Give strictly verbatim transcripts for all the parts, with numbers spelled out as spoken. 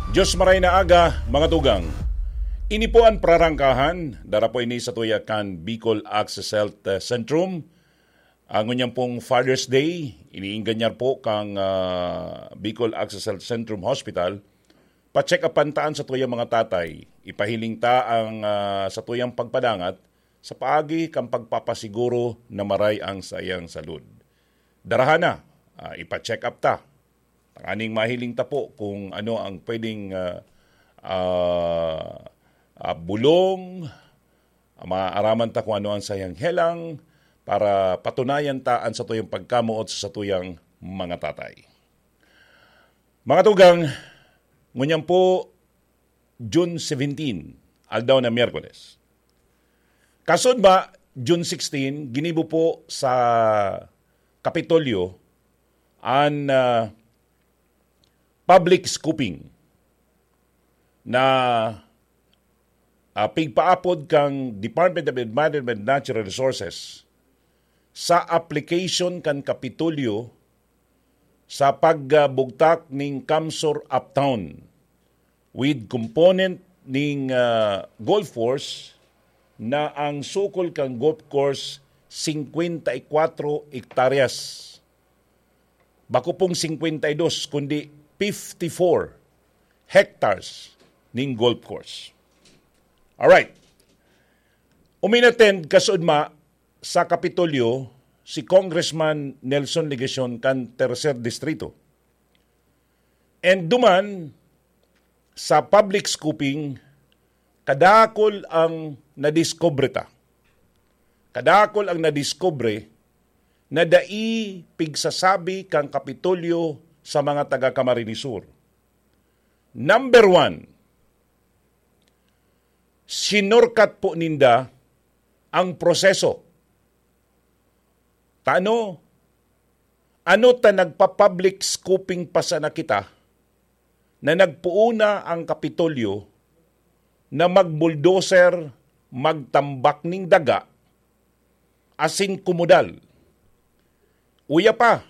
Diyos maray na aga, mga tugang. Ini po an prarangkahan, dara po ini sa tuya kan Bicol Access Health, eh, Centrum. Ang ngunyan pong Father's Day, iniingganyar po kang, ah, Bicol Access Health Centrum Hospital. Pa-check upan ta an satuyang mga tatay. Ipahiling ta ang, ah, satuyang pagpadangat sa paagi kan pagpapasiguro na maray ang saiyang salud. Daraha na, ah, ipa-check up ta. Tanganing mahiling ta po kung ano ang pwedeng, ah, ah, ah, bulong, ah, maaraman ta kung ano ang sayang helang para patunayan ta an satuyang pagkamoot sa satuyang mga tatay. Mga tugang, ngunyan po, June seventeen, aldaw na Miyerkules. Kasunod ba, June sixteen, ginibo po sa Kapitolyo an, ah, public scooping na, ah, pigpaapod kang Department of Environment and Natural Resources sa application kan Kapitolyo sa pagbugtak ning CamSur Uptown with component ning, ah, golf course na ang sukol kan golf course singkwenta y kwatro hektaryas. Bako pong singkwenta y dos, kundi fifty-four hectares ning golf course. Alright. Uminattend kasunod ma sa Kapitolyo si Congressman Nelson Legacion kan Tercer Distrito. And duman, sa public scooping, kadakul ang nadiskubre ta. Kadakul ang nadiskubre na dai pigsasabi kan Kapitolyo sa mga taga Camarines Sur. Number one, sinurkat po ninda ang proseso. Tano, ano ta nagpa-public scooping pa sana kita na nagpoon na ang Kapitolyo na mag-bulldozer, magtambak ning daga, asin kumudal. Uya pa,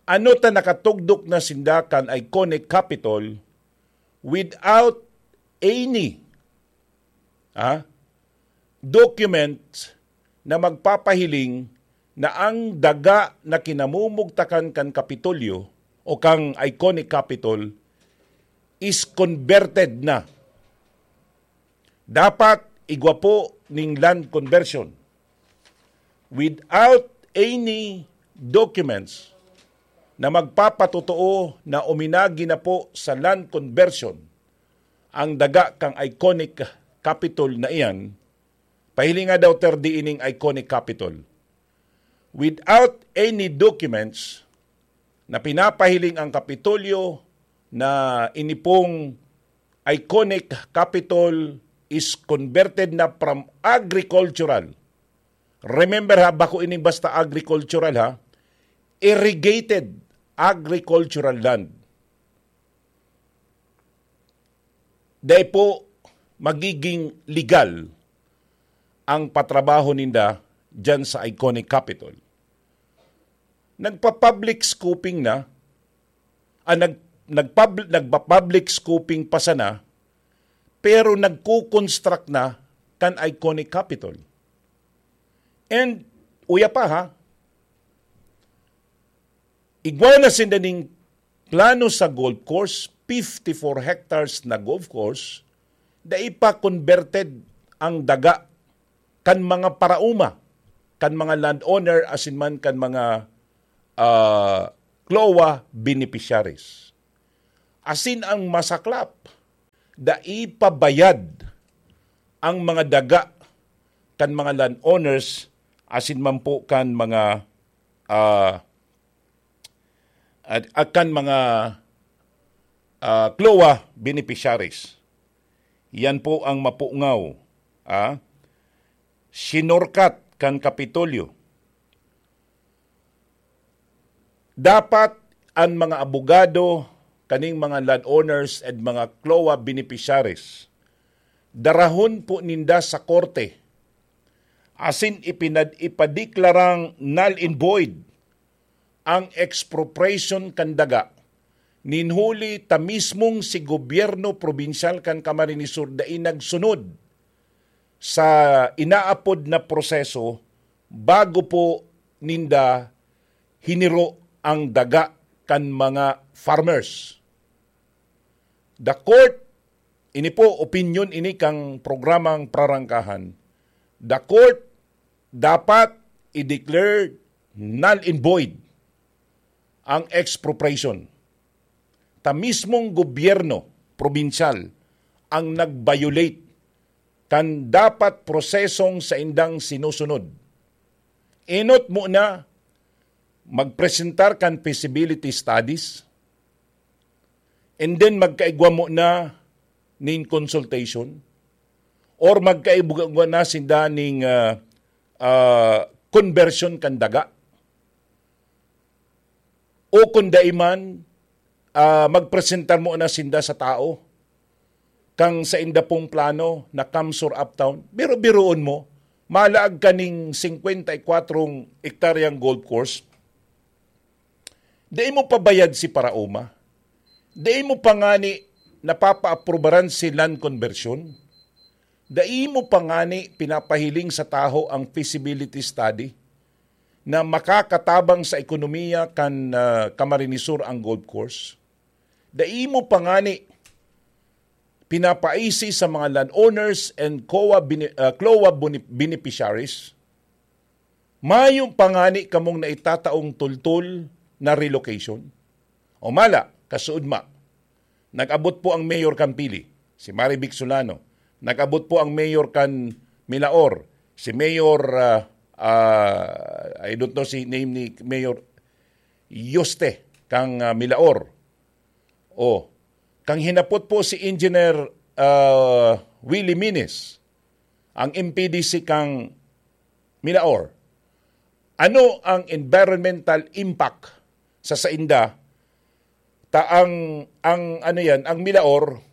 ano ta nakatugdok na sinda kan iconic Capitol without any, ah, document na magpapahiling na ang daga na kinamumugtakan kan Kapitolyo o kan iconic Capitol is converted na. Dapat igwa po ning land conversion without any documents na magpapatotoo na uminagi na po sa land conversion ang daga kan iconic Capitol na iyan. Pahilinga daw, ter, di ining iconic Capitol. Without any documents na pinapahiling ang Kapitolyo na ini pong iconic Capitol is converted na from agricultural. Remember ha, bako ini basta agricultural ha, irrigated agricultural land. Dai po magiging legal ang patrabaho ninda diyan sa iconic Capitol. Nagpa-public scooping na, ah, nag-, nagpub-, nagpa-public scooping pa sana, pero nagko-construct na kan iconic Capitol. And, uya pa ha, igwa na sinda ning plano sa golf course, fifty-four hectares na golf course, dai pa converted ang daga kan mga paraoma, kan mga landowner, asin man kan mga, ah, CLOA beneficiaries. Asin ang masaklap, dai pa bayad ang mga daga kan mga landowners, asin man po kan mga, ah, at, at kan mga, ah, CLOA beneficiaries. Yan po ang mapungaw, ah, sinurkat kan Kapitolyo. Dapat an mga abogado kaning mga landowners and mga CLOA beneficiaries, darahon po ninda sa korte asin ipinad-, ipadeklarang null and void ang expropriation kan daga Nin huli ta mismong si gobyerno probinsyal kan Camarines Sur dai nagsunod sa inaapod na proseso bago po ninda hiniro ang daga kan mga farmers. The court, ini po, opinyon ini kan programang Prarangkahan. The court dapat i-declare null and void ang expropriation. Ta mismong gobyerno probinsyal ang nag-violate kan dapat prosesong saindang sinusunod. Enot mo na magpresentar kan feasibility studies, and then magkaigwa mo na nin consultation, or magkaigwa na sinda ning, ah, ah, conversion kan daga. O kung dai man, ah, magpresentar mo na sinda sa tao kang sainda pong plano na CamSur Uptown. Biro-biroon mo, malaag ka ning singkwenta y kwatro hektaryang golf course, dai mo pabayad si Paraoma. Dai mo pa ngani napapaaprubaran si land conversion. Dai mo pa ngani pinapahiling sa taho ang feasibility study na makakatabang sa ekonomiya kan, ah, Camarines Sur ang golf course. Dai mo pa ngani pinapaisi sa mga landowners and COA bene-, ah, CLOA bene-, beneficiaries. Mayo pa ngani kamong naitataong tultol na relocation. O mala, kasuodma, nag-abot po ang mayor kan Pili, si Marivic Solano. Nag-abot po ang mayor kan Milaor, si Mayor, ah, ah, I don't know si name ni Mayor Yoste kang, ah, Milaor. O, kang hinapot po si Engineer, ah, Willie Mines, ang M P D C kang Milaor. Ano ang environmental impact sa sainda? Ta ang, ang ano yan, ang Milaor,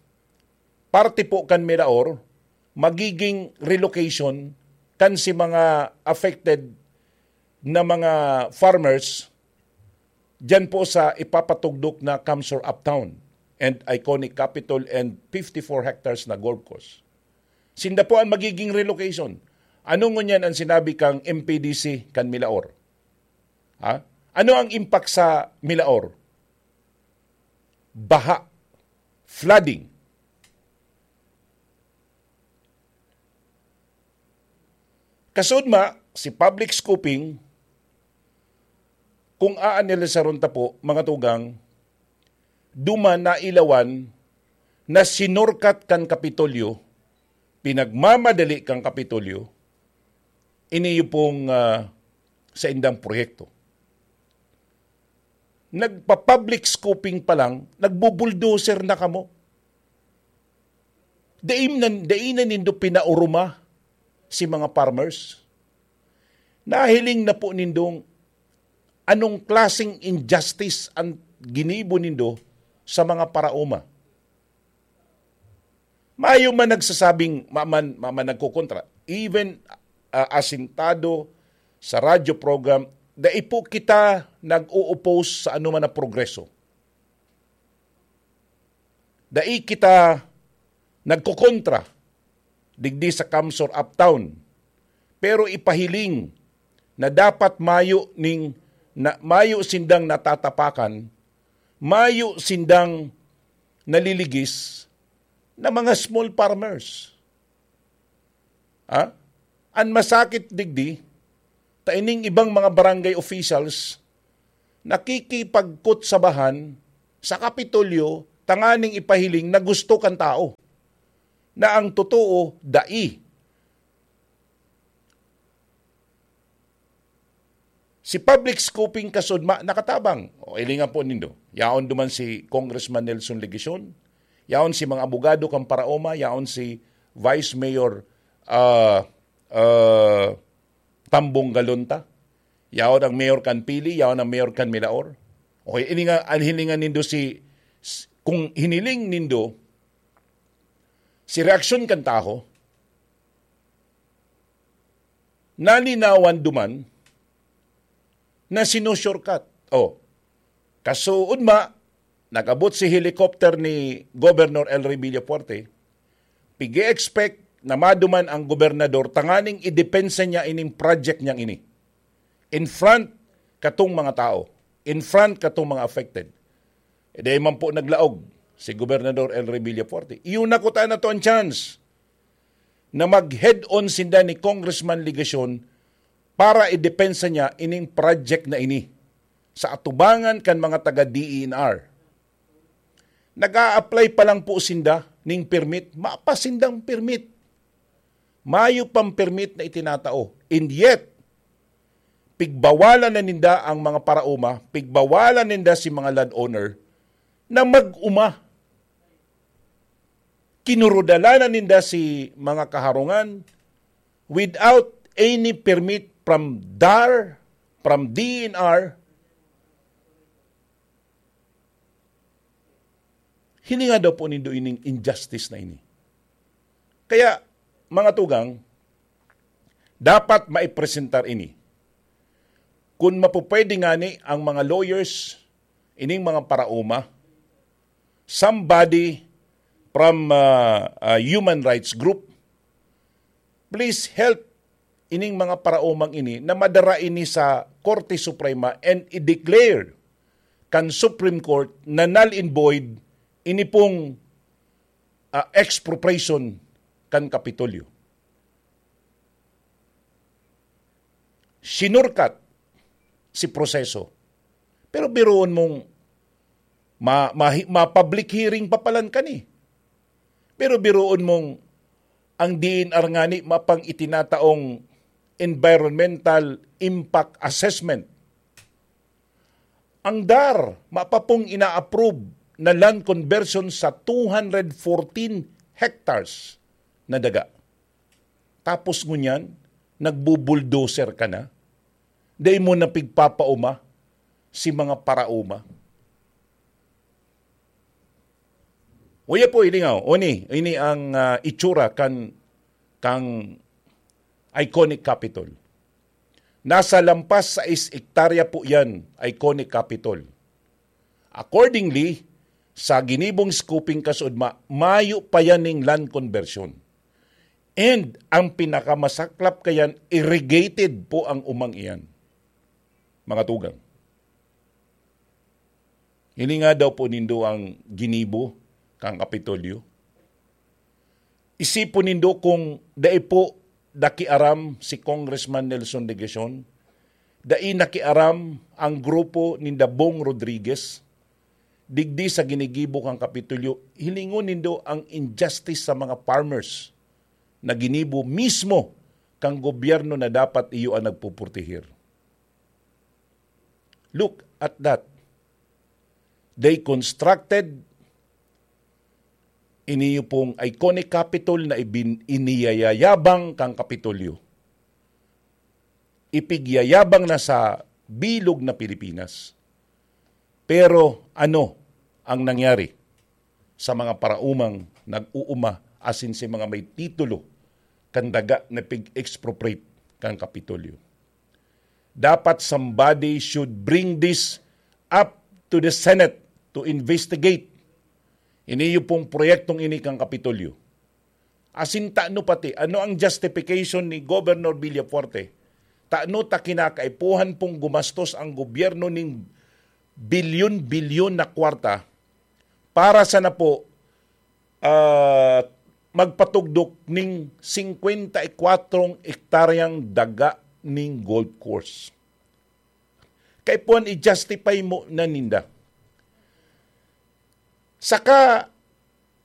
parte po kan Milaor, magiging relocation kan si mga affected na mga farmers diyan po sa ipapatugdok na CamSur Uptown and iconic Capitol and fifty-four hectares na golf course. Sinda po ang magiging relocation. Ano ngunyan ang sinabi kang M P D C kan Milaor? Ha? Ano ang impact sa Milaor? Baha, flooding. Kasudma, si public scooping, kung aanalisaron ta po, mga tugang, duman na ilawan na sinurkat kan Kapitolyo, pinagmamadali kan Kapitolyo, ini pong, ah, saindang proyekto. Nagpa-public scooping pa lang, nagbubulldozer na kamo. Dai na, dai na nindo pinaoroma si mga farmers. Nahiling na po nindong anong klaseng injustice ang ginibo nindo sa mga paraoma. Mayo man nagsasabing, maman, maman nagkokontra. Even, ah, asintado sa radyo program, dai po kita nag-o-oppose sa anuman na progreso. Dai kita nagkokontra digdi sa CamSur Uptown. Pero ipahiling na dapat mayo ning, na, mayo sindang natatapakan, mayo sindang naliligis na mga small farmers. Ha? An masakit digdi, ta ining ibang mga barangay officials nakikipagkutsabahan sa Kapitolyo tanganing ipahiling na gusto kan tao, na ang totoo, dai. Si public scooping kasudma nakatabang. O, hilingan po nindo. Yaon duman si Congressman Nelson Legacion, yaon si mga abogado kan Paraoma, yaon si Vice Mayor, ah, ah, Tambong Galonta, yaon ang mayor kan Pili, yaon ang mayor kan Milaor. O, ini nga, ang hilingan nindo si, s-, kung hiniling nindo, si reaksyon kan taho, nalinawan duman na sinushortcut. O, kasuodma, Nag-abot si helicopter ni Governor El Rey Villafuerte, pig-expect na maduman ang gobernador tanganing idepensa niya ining project niyang ini in front katong mga tao, in front katong mga affected. E di man po naglaog si Gobernador El Rey Villafuerte. Iyo na kuta na to ang chance na mag-head-on sinda ni Congressman Legacion para idepensa niya ining project na ini sa atubangan kan mga taga D E N R. Nag-a-apply pa lang po sinda ning permit, mapa sindang permit. Mayo pang permit na itinatao. And yet, pigbawalan na ninda ang mga paraoma, pigbawalan ninda si mga landowner na mag-uma. Kinurudalanan ninda si mga kaharungan without any permit from D A R, from D E N R. Hilinga daw po nindo ining injustice na ini. Kaya, mga tugang, dapat maipresentar ini. Kun mapupwede ngani ang mga lawyers, ining mga paraoma, somebody from, ah, ah, human rights group, please help ining mga paraomang ini na madara ini sa Korte Suprema and i-declare kan Supreme Court na null and void ini pong, ah, expropriation kan Kapitolyo. Sinurkat si proseso. Pero biruon mong ma-, ma-, ma-public hearing pa palan kani. Pero biruon mong ang D E N R ngani mapang itinataong environmental impact assessment. Ang D A R, mapapong ina-approve na land conversion sa two hundred fourteen hectares na daga. Tapos ngunyan, nagbubulldozer ka na? Dai mo na pigpapauma si mga parauma? Uya po, ilingaw, oni, ini ang, ah, itsura kan, kang iconic Capitol. Nasa lampas sais hektarya po yan, iconic Capitol. Accordingly, sa ginibong scoping kasuodma, mayo pa yan ning land conversion. And ang pinakamasaklap kayan, irrigated po ang umang iyan. Mga tugang. Hilinga daw po nindo ang ginibo kan Kapitolyo. Isipon nindo kung dai po nakiaram si Congressman Nelson Legacion, dai nakiaram ang grupo ni Dabong Rodriguez, digdi sa ginigibo kan Kapitolyo, hilingon nindo ang injustice sa mga farmers na ginibo mismo kan gobyerno na dapat iyo ang nagpupurtihir. Look at that. They constructed iniyo pong iconic Capitol na ibin-, iniyayayabang kang Kapitolyo. Ipigyayabang na sa bilog na Pilipinas. Pero ano ang nangyari sa mga paraumang nag-uuma asin sa mga may titulo kan daga na pig-expropriate kan Kapitolyo? Dapat somebody should bring this up to the Senate to investigate. Iniyo pong proyektong ini kan Kapitolyo. Asin tano pati, ano ang justification ni Governor Villafuerte? Tano ta kinakaipuhan pong gumastos ang gobyerno ning bilyon-bilyon na kwarta para sana po, ah, magpatugdok ning singkwenta y kwatro hektaryang daga ning golf course. Kaipuhan i-justify mo na ninda. Saka,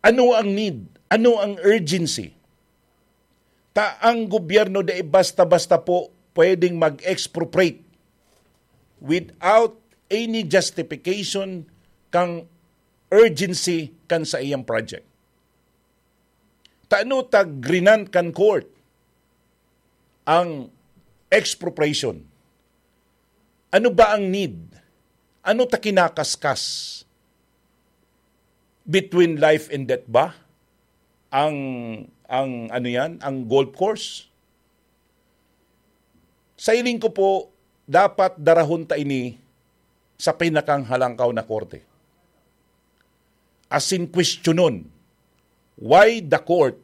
ano ang need? Ano ang urgency? Ta ang gobyerno dai basta-basta po pwedeng mag-expropriate without any justification kang urgency kan sa iyang project. Tano ta grinan kan court ang expropriation? Ano ba ang need? Ano ta kinakaskas? Between life and death ba ang, ang ano yan, ang golf course? Sa hiling ko po, dapat darahon ta ini sa pinakang halangkaw na korte. asin kwestiyonon why the court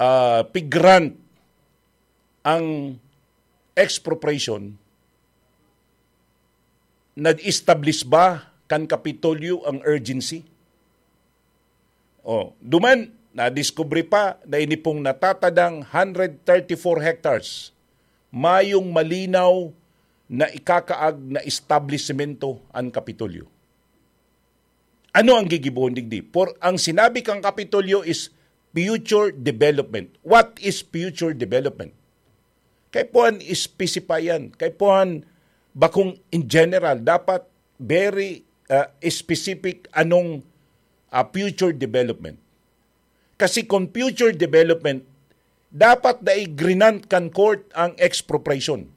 ah, pig-grant ang expropriation, nag-establish ba kan Kapitolyo ang urgency? Oh, duman, nadiskubre pa na ini pong natatadang hundred thirty-four hectares, mayong malinaw na ikakaag na establisimento ang Kapitolyo. Ano ang gigibohon digdi? Por, ang sinabi kang Kapitolyo is future development. What is future development? Kaipuhan specify yan. Kaipuhan bakong in general, dapat very uh, specific anong uh, future development. Kasi kung future development, dapat dai grinant kan court ang expropriation.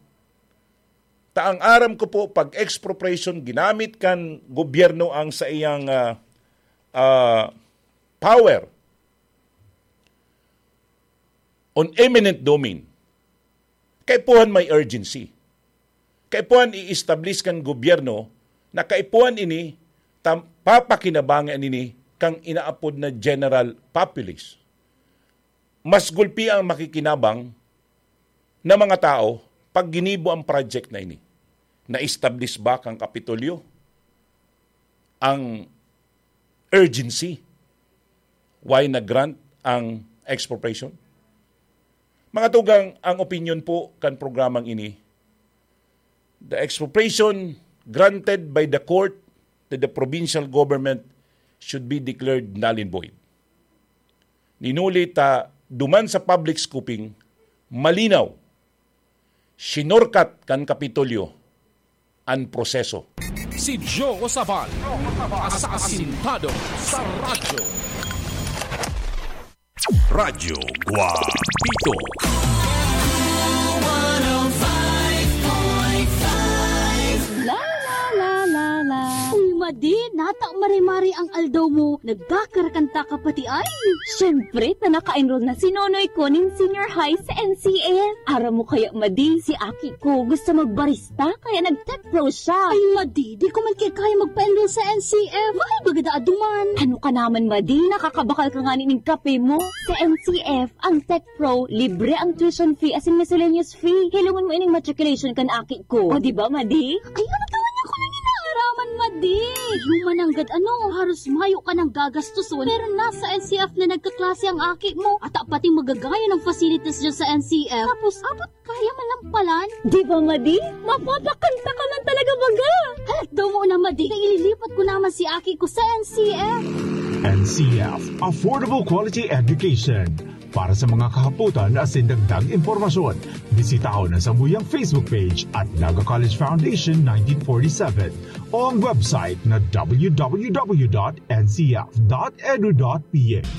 Ta ang aram ko po, pag expropriation, ginamit kan gobyerno ang sa iyang ah, ah, power on eminent domain. Kaipuhan may urgency. Kaipuhan i-establish kan gobyerno na kaipuhan ini, tam, papakinabangan ini kang inaapod na general populace. Mas gulpi ang makikinabang na mga tao pag ginibo ang project na ini. Na-establish ba kang Kapitolyo ang urgency? Why na-grant ang expropriation? Mga tugang, ang opinion po kan programang ini, the expropriation granted by the court to the provincial government should be declared null and void. Ninuli ta duman sa public scoping, malinaw, sinurkat kan Kapitolyo an proseso. Si Joe Sabal, asasintado sa radyo. Radyo Guapito. La la la la la. Uy, Madi, nata mare-mare ang aldaw mo. Nagkakarakanta ka pati ay. Siyempre, ta naka-enroll na si Nonoy ko nin senior high sa N C F. Aram mo kaya, Madi, si aki ko gusto magbarista, kaya nag-tech pro siya. Ay, Madi, di ko man kaya magpa-enroll sa N C F. Mahal baga daa duman. Ano ka naman, Madi? Nakakabakal ka nga nin kape mo. Sa N C F, ang tech pro, libre ang tuition fee asin miscellaneous fee. Hilongon mo ining matriculation kan aki ko. O, di ba, Madi? Ay, ano ka man ako nang inaaraman, Madi? Human nanggad ano, haros mayo ka nang gagastoson. Pero nasa N C F na nagkaklase ang aki mo. At pati magagayon ang facilities dyan sa N C F. Tapos, abot kaya man lang palan. Di ba, Madi? Mapapakanta ka man talaga baga. Halat daw mo na, Madi. Kaya ililipat ko naman si aki ko sa N C F. N C F, Affordable Quality Education. Para sa mga kahapotan asin dagdag impormasyon, bisitahon ang samuyang Facebook page at Naga College Foundation nineteen forty-seven o ang website na w w w dot n c f dot edu dot p h.